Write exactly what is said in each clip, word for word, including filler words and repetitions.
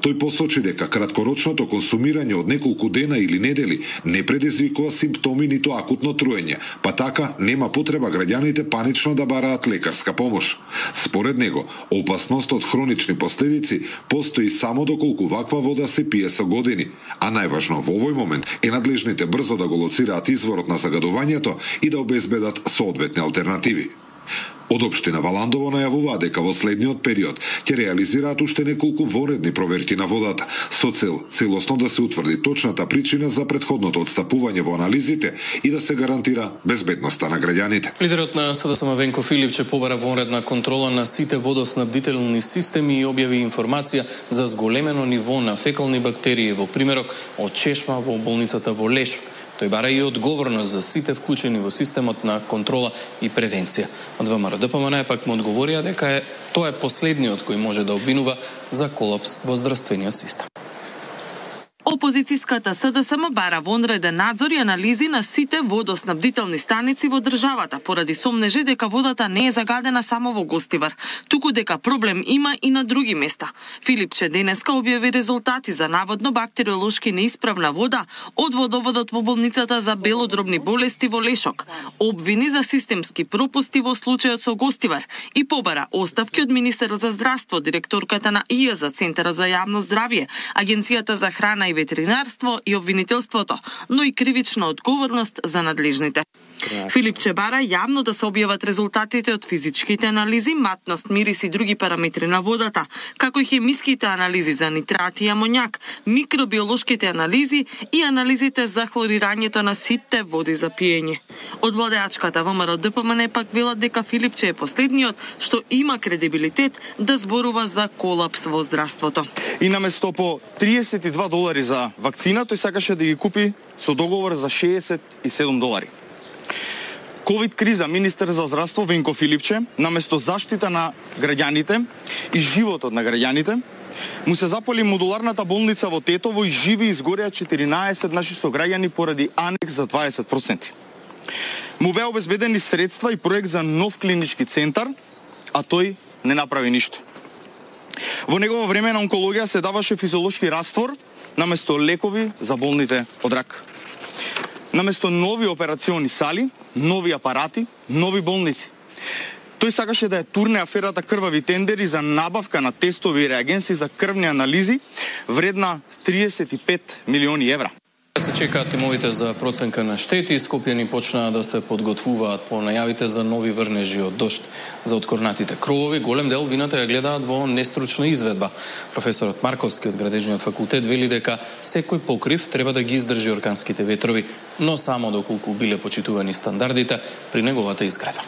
Тој посочи дека краткорочното консумирање од неколку дена или недели не предизвикува симптоми ниту акутно труење, па така нема потреба граѓаните панично да бараат лекарска помош. Според него, опасност од хронични последици постои само доколку ваква вода се пие со години, а најважно во овој момент е надлежните брзо да го лоцираат изворот на загадувањето и да обезбедат соодветни алтернативи. Од општина Валандово најавуваа дека во следниот период ќе реализираат уште неколку воредни проверки на водата, со цел целосно да се утврди точната причина за претходното отстапување во анализите и да се гарантира безбедноста на граѓаните. Лидерот на СДСМ Венко Филипче побара вонредна контрола на сите водоснабдителни системи и објави информација за зголемено ниво на фекални бактерии во примерок од чешма во болницата во Лешо. Тој бара и одговорност за сите вклучени во системот на контрола и превенција. Од ВМРО ДПМН пак му одговорија дека е тоа е последниот кој може да обвинува за колапс во здравствениот систем. Опозицијската СДСМ бара вонреден надзор и анализи на сите водоснабдителни станици во државата, поради сомнежи дека водата не е загадена само во Гостивар, туку дека проблем има и на други места. Филипче денеска објави резултати за наводно бактериолошки неисправна вода од водоводот во болницата за белодробни болести во Лешок, обвини за системски пропусти во случајот со Гостивар и побара оставки од министерот за здравство, директорката на ИЈ за Центарот за јавно здравје, Агенцијата за храна и ветеринарство и обвинителството, но и кривична одговорност за надлежните. Филипче бара јавно да се објават резултатите од физичките анализи, матност, мирис и други параметри на водата, како и хемиските анализи за нитрати и амоњак, микробиолошките анализи и анализите за хлорирањето на сите води за пиење. Од владеачката ВМРО ДПМН пак велат дека Филипче е последниот што има кредибилитет да зборува за колапс во здравството. И наместо по триесет и два долари за вакцина, тој сакаше да ги купи со договор за шеесет и седум долари. Ковид криза, министер за здравство Венко Филипче, наместо заштита на граѓаните и животот на граѓаните, му се запали модуларната болница во Тетово и живи изгореа четиринаесет наши сограѓани поради анекс за дваесет проценти. Му беа обезбедени средства и проект за нов клинички центар, а тој не направи ништо. Во негово време на онкологија се даваше физиолошки раствор наместо лекови за болните од рак. Наместо нови операциони сали, нови апарати, нови болници. Тој сакаше да ја турне аферата крвави тендери за набавка на тестови и реагенси за крвни анализи вредна триесет и пет милиони евра. Се чекаат тимовите за проценка на штети, скопјани почнаа да се подготвуваат по најавите за нови врнежи од дожд. За откорнатите кровови, голем дел вината ја гледаат во нестручна изведба. Професорот Марковски од Градежниот факултет вели дека секој покрив треба да ги издржи орканските ветрови, но само доколку биле почитувани стандардите при неговата изградба.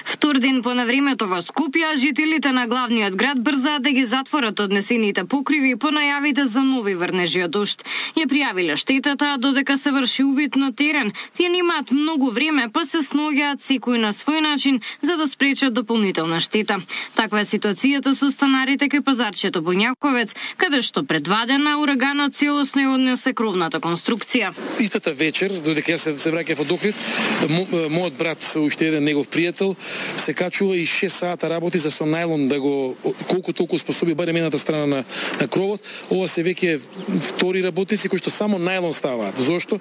Втор ден по навремето во Скопје, жителите на главниот град брзаат да ги затворат однесените покриви по најавите за нови врнежи од дожд. Ја пријавиле штетата додека се врши увид на терен. Тие немаат многу време, па се сноѓаат секој на свој начин за да спречат дополнителна штета. Таква е ситуацијата со станарите кај пазарчето Боњаковец, каде што пред два дена ураганот целосно ја однесе кровната конструкција. Истата вечер, додека јас се, се враќав од Охрид, мо, мојот брат со уште еден негов пријател се качува и шест сата работи за со најлон да го колку толку способи барем едната страна на на кровот. Ова се веќе втори работници кои што само најлон ставаат. Зошто?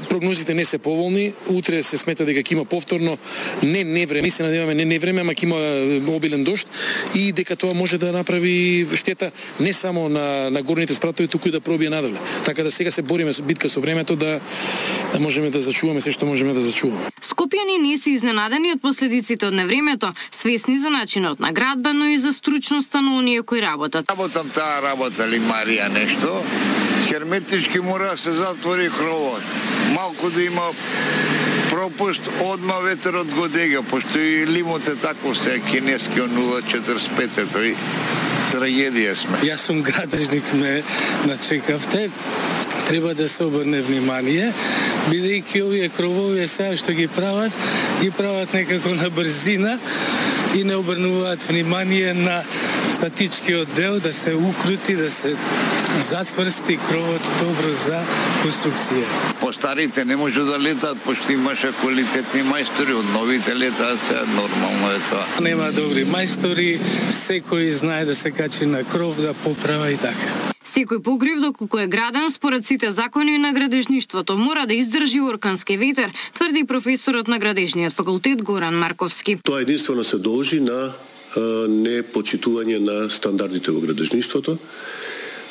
Прогнозите не се поволни. Утре се смета дека ќе има повторно не не време, мислам да имаме не не време, ама ќе има обилен дожд и дека тоа може да направи штета не само на на горните спратови, туку и да пробие надоле. Така да сега се бориме со битка со времето да да можеме да зачуваме се што можеме да зачуваме. Скопјани не се изненадени од последиците од невремето, свесни за начинот на градба, но и за стручноста на оние кои работат. Работам таа работа ли Марија нешто, херметички мора да се затвори кровот. Малку да има пропуст, одма ветерот го дега, пошто и лимот е тако се кинески од нула четиридесет и пет, тој трагедија сме. Јас сум градежник, ме начекавте. Треба да се обрне внимание, бидејќи овие кровови сега што ги прават, ги прават некако на брзина и не обрнуваат внимание на статичкиот дел, да се укрути, да се зацврсти кровот добро за конструкцијата. По старите не може да летаат, пошто имаше квалитетни мајстори, од новите летаат се, нормално е тоа. Нема добри мајстори, секој знае да се качи на кров, да поправа и така. Секој покрив доколку е граден според сите закони на градежништвото мора да издржи оркански ветер, тврди професорот на градежниот факултет Горан Марковски. Тоа единствено се должи на непочитување на стандардите во градежништвото,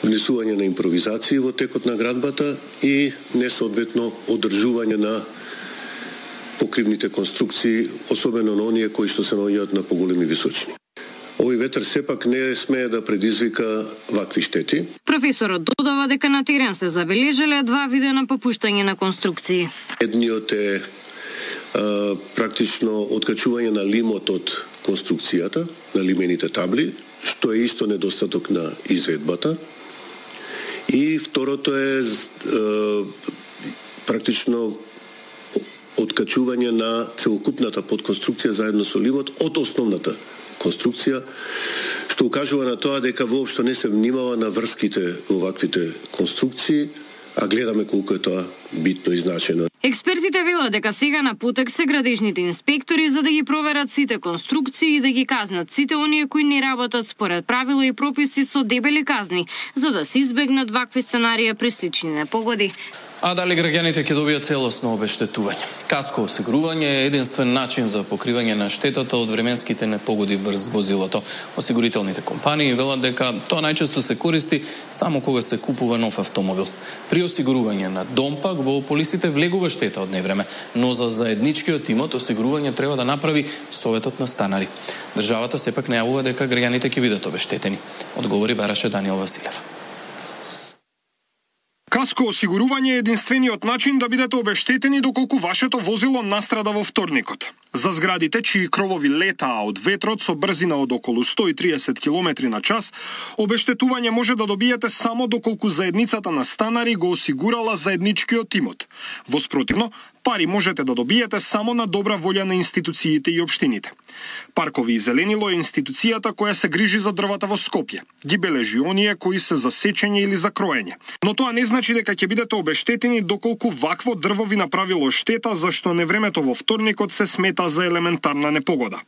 внесување на импровизации во текот на градбата и несоодветно одржување на покривните конструкции, особено на оние кои што се наоѓаат на поголеми височини. Овој ветер сепак не смее да предизвика вакви штети. Професорот додава дека на терен се забележале два вида на попуштање на конструкции. Едниот е а, практично откачување на лимот од конструкцијата, на лимените табли, што е исто недостаток на изведбата. И второто е а, практично откачување на целокупната подконструкција заедно со лимот од основната конструкција, што укажува на тоа дека воопшто не се внимава на врските во ваквите конструкции, а гледаме колку е тоа битно и значено. Експертите велат дека сега на потек се градежните инспектори за да ги проверат сите конструкции и да ги казнат сите оние кои не работат според правила и прописи со дебели казни, за да се избегнат вакви сценарија при слични непогоди. А дали граѓаните ќе добијат целосно обештетување? Каско осигурување е единствен начин за покривање на штетата од временските непогоди врз возилото. Осигурителните компании велат дека тоа најчесто се користи само кога се купува нов автомобил. При осигурување на дом пак во полисите влегува штета од невреме, но за заедничкиот имот осигурување треба да направи Советот на станари. Државата сепак најавува дека граѓаните ќе бидат обештетени, одговори бараше Даниел Василев. Каско осигурување е единствениот начин да бидете обештетени доколку вашето возило настрада во вторникот. За зградите чии кровови летаа од ветрот со брзина од околу сто и триесет километри на час, обештетување може да добиете само доколку заедницата на станари го осигурала заедничкиот имот. Во спротивно, пари можете да добиете само на добра волја на институциите и општините. Паркови и зеленило е институцијата која се грижи за дрвата во Скопје. Ги бележи оние кои се за сечење или за кроење. Но тоа не значи дека ќе бидете обештетени доколку вакво дрво ви направило штета, зашто невремето во вторникот се смета за елементарна непогода.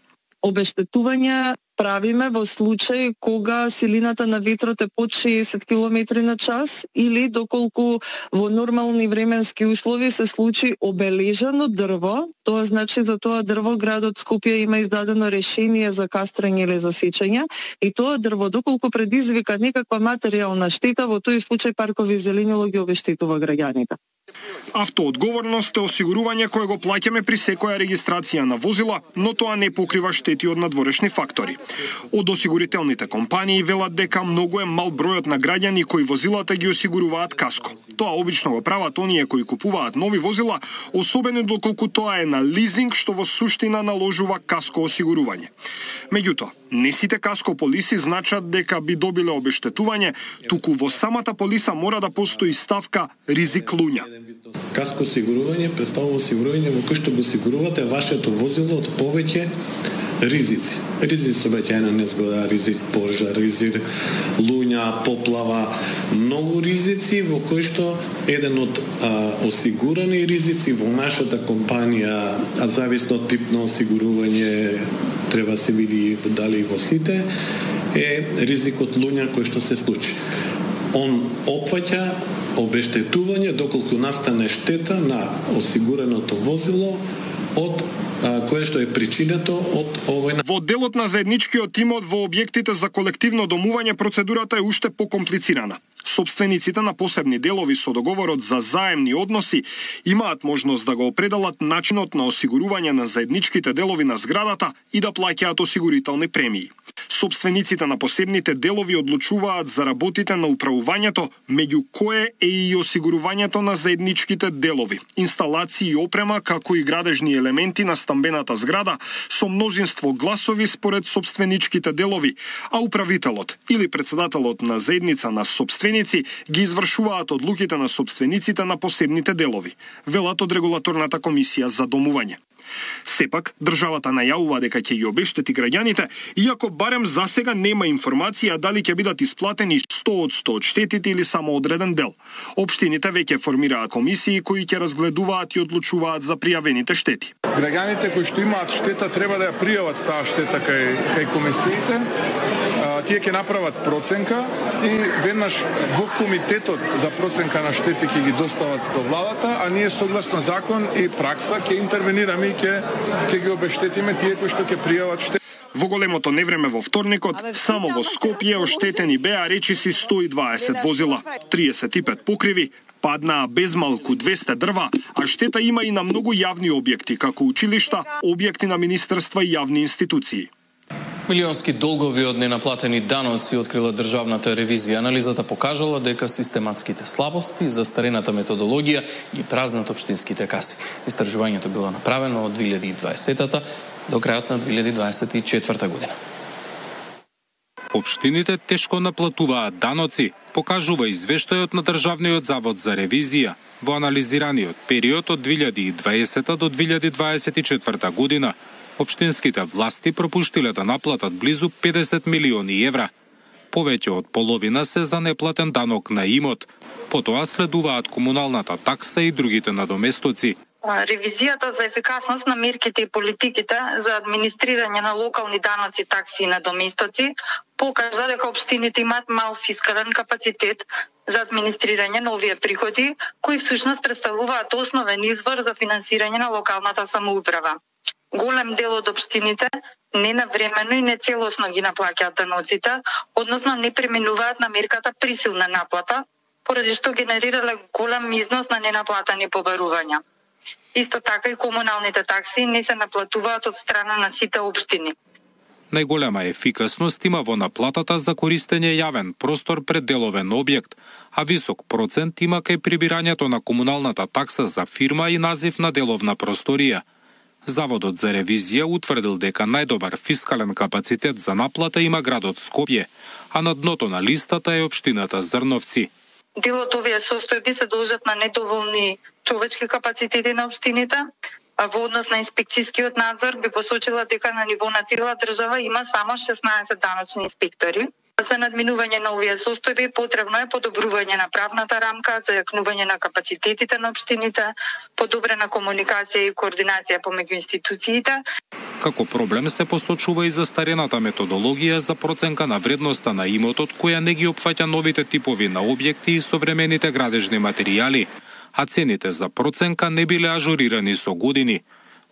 Обештетување правиме во случај кога силината на ветрот е под шеесет километри на час или доколку во нормални временски услови се случи обележано дрво, тоа значи за тоа дрво градот Скопје има издадено решение за кастрење или за сечење и тоа дрво доколку предизвика некаква материјална штета, во тој случај паркови и зеленило ги обештетува граѓаните. Автоодговорност е осигурување кое го плаќаме при секоја регистрација на возила, но тоа не покрива штети од надворешни фактори. Од осигурителните компании велат дека многу е мал бројот на граѓани кои возилата ги осигуруваат каско. Тоа обично го прават оние кои купуваат нови возила, особено доколку тоа е на лизинг, што во суштина наложува каско осигурување. Меѓутоа, не сите каско полиси значат дека би добиле обештетување, туку во самата полиса мора да постои ставка ризик луѓе. Каско осигурување представува осигурување во кој што го осигурувате вашето возило од повеќе ризици. Ризик сообраќајна незгода, ризик пожар, ризик луѓа, поплава, многу ризици во кои што еден од а, осигурани ризици во нашата компанија, а зависно од тип на осигурување треба се види дали во сите, е ризикот луѓа кој што се случи. Он опфаќа обештетување доколку настане штета на осигуреното возило од а, кое што е причинето од овој. Во делот на заедничкиот имот во објектите за колективно домување процедурата е уште покомплицирана. Собствениците на посебни делови со договорот за заемни односи имаат можност да го определат начинот на осигурување на заедничките делови на зградата и да плаќаат осигурителни премии. Собствениците на посебните делови одлучуваат за работите на управувањето, меѓу кое е и осигурувањето на заедничките делови, инсталации и опрема, како и градежни елементи на стамбената зграда со мнозинство гласови според собственичките делови, а управителот или председателот на заедница на собственици ги извршуваат одлуките на собствениците на посебните делови, велат од Регулаторната комисија за домување. Сепак, државата најавува дека ќе ја обештети граѓаните, иако барем засега нема информација дали ќе бидат исплатени сто од сто од штетите или само одреден дел. Општините веќе формираат комисии кои ќе разгледуваат и одлучуваат за пријавените штети. Граѓаните кои што имаат штета треба да ја пријават таа штета кај кај комисиите. Тие ќе направат проценка и веднаш во комитетот за проценка на штети ќе ги достават до владата, а ние согласно закон и пракса ќе интервенираме и ќе ќе ги обештетиме тие кои што ќе пријават штети. Во големото невреме во вторникот, само во Скопје оштетени беа речиси сто и дваесет возила, триесет и пет покриви, паднаа безмалку двесте дрва, а штета има и на многу јавни објекти, како училишта, објекти на министерства и јавни институции. Милионски долгови од ненаплатени даноци открила државната ревизија. Анализата покажала дека систематските слабости и застарената методологија ги празнат општинските каси. Истражувањето било направено од две илјади и дваесета до крајот на две илјади дваесет и четврта година. Општините тешко наплатуваат даноци, покажува извештајот на Државниот завод за ревизија. Во анализираниот период од две илјади и дваесета до две илјади дваесет и четврта година, општинските власти пропуштиле да наплатат близу педесет милиони евра. Повеќе од половина се за неплатен данок на имот. Потоа следуваат комуналната такса и другите надоместоци. Ревизијата за ефикасност на мерките и политиките за администрирање на локални даноци, такси и надоместоци покажа дека општините имаат мал фискален капацитет за администрирање на овие приходи, кои всушност представуваат основен извор за финансирање на локалната самоуправа. Голем дел од општините ненавремено и нецелосно ги наплаќаат даноците, односно не преминуваат на мерката присилна наплата, поради што генерирале голем износ на ненаплатени побарувања. Исто така и комуналните такси не се наплатуваат од страна на сите општини. Најголема ефикасност има во наплатата за користење јавен простор пред деловен објект, а висок процент има кај прибирањето на комуналната такса за фирма и назив на деловна просторија. Заводот за ревизија утврдил дека најдобар фискален капацитет за наплата има градот Скопје, а на дното на листата е општината Зрновци. Дел од овие состојби се должат на недоволни човечки капацитети на општините, а во однос на инспекцијскиот надзор би посочила дека на ниво на цела држава има само шеснаесет даночни инспектори. За надминување на овие состојби потребно е подобрување на правната рамка, зајакнување на капацитетите на општините, подобрена комуникација и координација помеѓу институциите. Како проблем се посочува и застарената методологија за проценка на вредноста на имотот, која не ги опфаќа новите типови на објекти и современите градежни материјали, а цените за проценка не биле ажурирани со години.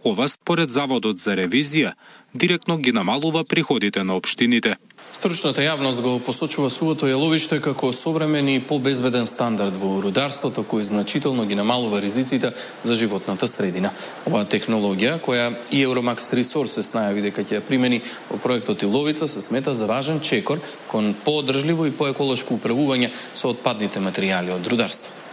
Ова, според Заводот за ревизија, директно ги намалува приходите на општините. Стручната јавност го посочува сувото јаловиште како современ и побезбеден стандард во рударството, кој значително ги намалува ризиците за животната средина. Оваа технологија, која и Euromax Resources најави дека ќе ја примени во проектот Иловица, се смета за важен чекор кон поодржливо и поеколошко управување со отпадните материјали од рударството.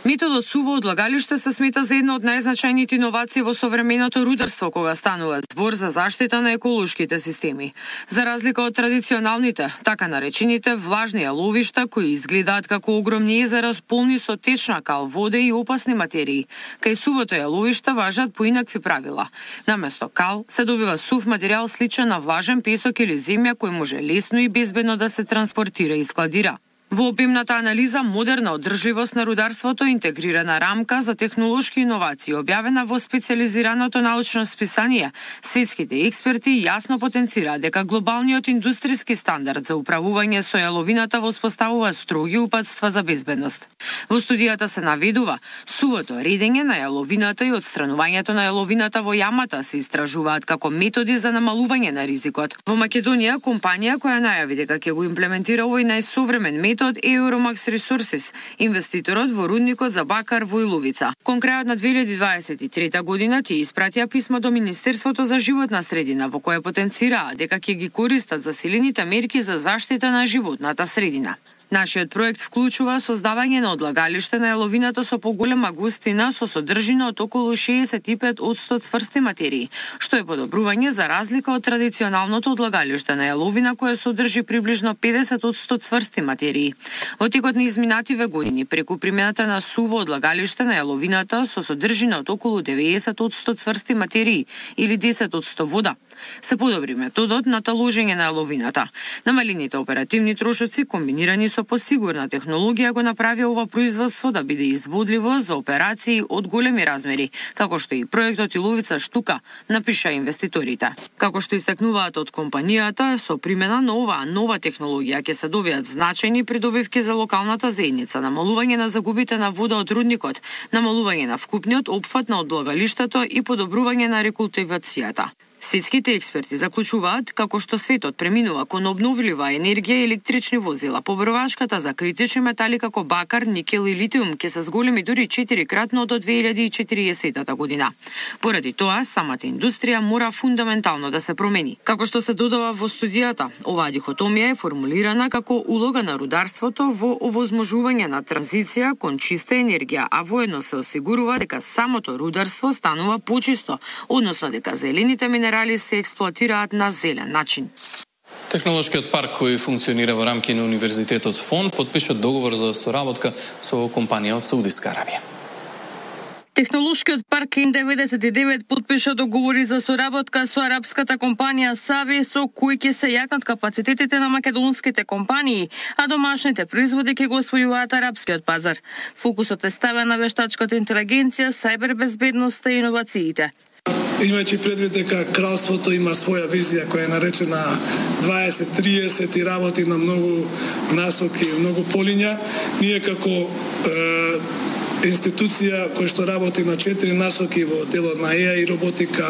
Методот суво одлагалиште се смета за една од најзначајните иновации во современото рударство кога станува збор за заштита на еколошките системи. За разлика од традиционалните, така наречените влажни јаловишта кои изгледаат како огромни езера полни со течна кал, вода и опасни материи, кај сувото јаловиште важат поинакви правила. Наместо кал се добива сув материјал сличен на влажен песок или земја кој може лесно и безбедно да се транспортира и складира. Во обемната анализа модерна одржливост на рударството, интегрирана рамка за технолошки иновации, објавена во специализираното научно списание, светските експерти јасно потенцираат дека глобалниот индустријски стандард за управување со јаловината воспоставува строги упатства за безбедност. Во студијата се наведува сувото редење на јаловината и отстранувањето на јаловината во јамата се истражуваат како методи за намалување на ризикот. Во Македонија компанија која најави дека ќе го имплементира овој најсовремен метод од Euromax Resources, инвеститорот во рудникот за бакар во Иловица. Кон крајот на две илјади дваесет и трета година тие испратија писмо до Министерството за животна средина во кое потенцираа дека ќе ги користат засилените мерки за заштита на животната средина. Нашиот проект вклучува создавање на одлагалиште на јаловината со поголема густина со содржина од околу шеесет и пет одсто цврсти материи, што е подобрување за разлика од традиционалното одлагалиште на јаловина кое содржи приближно педесет одсто цврсти материи. Во текот на изминативе години, преку примената на суво одлагалиште на јаловината со содржина од околу деветдесет одсто цврсти материи или десет одсто вода, се подобри методот на таложење на јаловината. Намалените оперативни трошоци комбинирани со посигурна технологија го направи ова производство да биде изводливо за операции од големи размери, како што и проектот Иловица штука, напиша инвеститорите. Како што истакнуваат од компанијата, со примена на оваа нова технологија ќе се добијат значајни придобивки за локалната заедница, намалување на загубите на вода од рудникот, намалување на вкупниот опфат на одлагалиштето и подобрување на рекултивацијата. Светските експерти заклучуваат како што светот преминува кон обновлива енергија и електрични возила, побрвашката за критични метали како бакар, никел и литиум ќе се зголеми дури четири кратно до две илјади и четириесетта година. Поради тоа, самата индустрија мора фундаментално да се промени. Како што се додава во студијата, оваа дихотомија е формулирана како улога на рударството во овозможување на транзиција кон чиста енергија, а воедно се осигурува дека самото рударство станува почисто, односно дека зелените минерали се експлоатираат на зелен начин. Технолошкиот парк кој функционира во рамки на Универзитетот Фон подпиша договор за соработка со компанија од Саудиска Арабија. Технолошкиот парк Н деветдесет и девет подпиша договори за соработка со арапската компанија Сави, со кои ќе се јакнат капацитетите на македонските компании, а домашните производи ќе го освојуваат арапскиот пазар. Фокусот е ставен на вештачката интелигенција, сајбербезбедноста и иновациите. Имајќи предвид дека кралството има своја визија која е наречена дваесет триесет и работи на многу насоки, многу полиња, ние како е, институција која што работи на четири насоки во делот на Е Ај и роботика,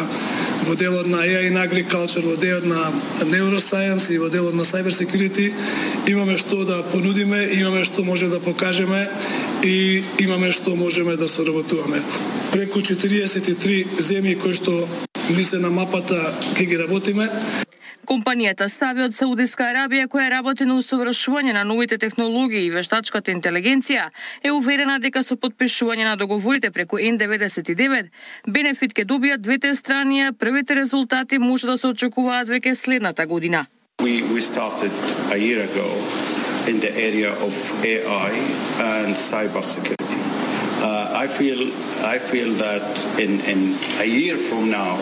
во делот на Е Ај и agriculture, во делот на neuroscience и во делот на cyber security, имаме што да понудиме, имаме што може да покажеме и имаме што можеме да соработуваме. Преку четириесет и три земји кои што ни се на мапата ќе ги работиме. Компанијата Сави од Саудиска Арабија, која работи на усовршување на новите технологии и вештачката интелигенција, е уверена дека со подпишување на договорите преку Н деветдесет и девет, бенефит ќе добијат двете страни, а првите резултати може да се очекуваат веќе следната година. We, we started a year ago in the area of A I and cyber security. Uh, I feel I feel that in, in a year from now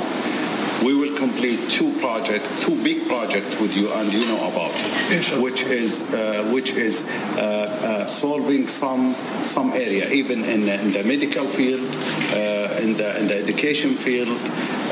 we will complete two projects, two big projects with you, and you know about it, which is uh, which is uh, uh, solving some some area, even in, in the medical field, uh, in the in the education field,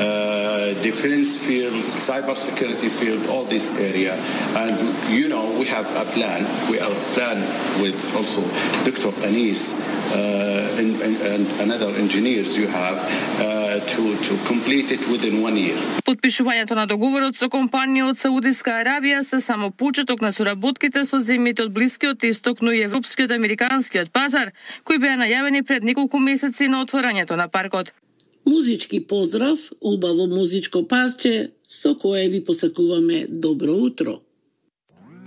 uh, defense field, cyber security field, all this area. And you know we have a plan. We have a plan with also Doctor Anis uh, and, and, and another engineers you have uh, to to complete it within one year. Подпишувањето на договорот со компанија од Саудиска Арабија се само почеток на соработките со земјите од Блискиот Исток, но и европскиот американскиот пазар, кои беа најавени пред неколку месеци на отворањето на паркот. Музички поздрав, убаво музичко парче со кое ви посакуваме добро утро.